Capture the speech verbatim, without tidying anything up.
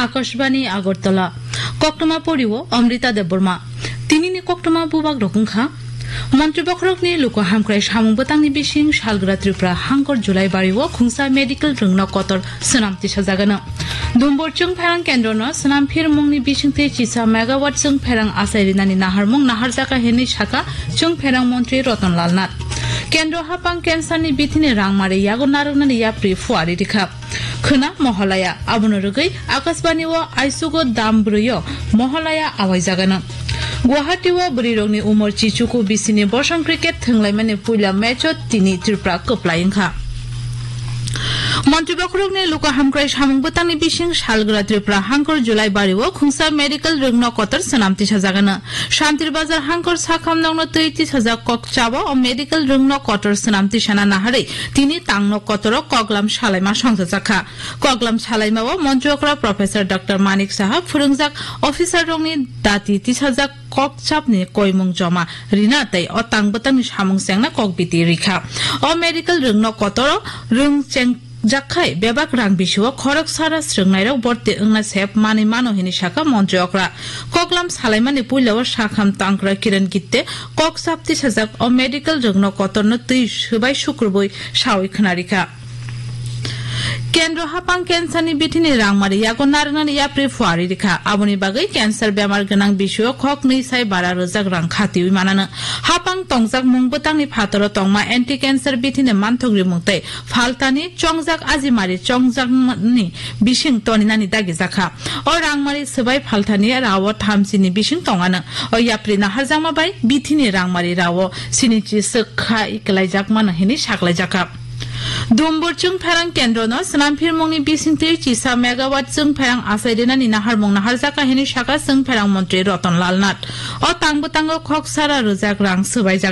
Akashbani Agartala. Koktwma porio Amrita Debbarma. Tinini koktwma bubak rok wngkha. Montri bokhorokni luku hamkrai samung bwtangni bising salgra Tripura hangkor July bario khungsa medical rwngno kotor swnam tisajagano. Dumbur chwngpherang kendrono swnam phirmungni bisingtwi chisa megawatt chwngpherang achai rinani naharmung naharjaka hinwi saka chwngpherang montri Ratan Lal Nath. Kendro hapang cancerni bithini rangmari yago narwknani yapri phuari rikha. Khwna Mohalaya, abono rwgwi Akashbani o aisugo dam brwi o Mohalaya awaijagano. Guwahati o bwrwirokni umor chichuku bisini bosong cricket thwnglaimani puila match o tini Tripura kwplai wngkha. Montri bokhorokni luku hamkrai samung bwtangni bising salgra Tripura hangkor July bario khungsa medical rwngno kotor swnam tisajagano. Shantir Bazar hangkor sakham nokno twi tisajak kok chabo o medical rwngno kotor swnam tisana naharwi tini tangno kotoro koklam salaima songchajakha. Koklam salaimao montri okra Professor Doctor Manik Saha phwrwngjak officer rokni dati tisajak kok chapni koimung joma rina tei o tang bwtangni samung chengna kok biti rikha. O medical rwngno kotoro rwng cheng jakkhai bebak rang bisio khorok sara srwngnairok borti wngna sep manwi mano hinwi saka montri okra. Koklam salaimani puilao sakham tangkra Kiran Gitte kok sapti sajak o medical rwngno kotorno twi swbai sukrubui sawi khwnarikha. Kendro hapang cancerni bithini rangmari yago narwknani yapri phuari rikha. Aboni bagwi cancer bemar gwnang bisio khoknwi sai bara rwjak rang khatiwi manano. Hapang tongjak mung bwtangni phataro tongma anti cancer bithini manthok rimung tei phaltani chongjak ajimari chongjakmani bising toninani dagijakha. O rangmari swbai phaltani rao thamsini bising tongano. O yapri naharjakma bai bithini rangmari rao sinichi swkha iklaijakmano hinwi saklaijakha. Dumbur chwngpherang kendrono swnam phirmungni bisingtwi chisa megawatt chwngpherang achai rinani naharmung naharjakha hinwi saka chwngpherang montri Ratan Lal Nath. O tang bwtango khok sara rwjak rang swbaijak.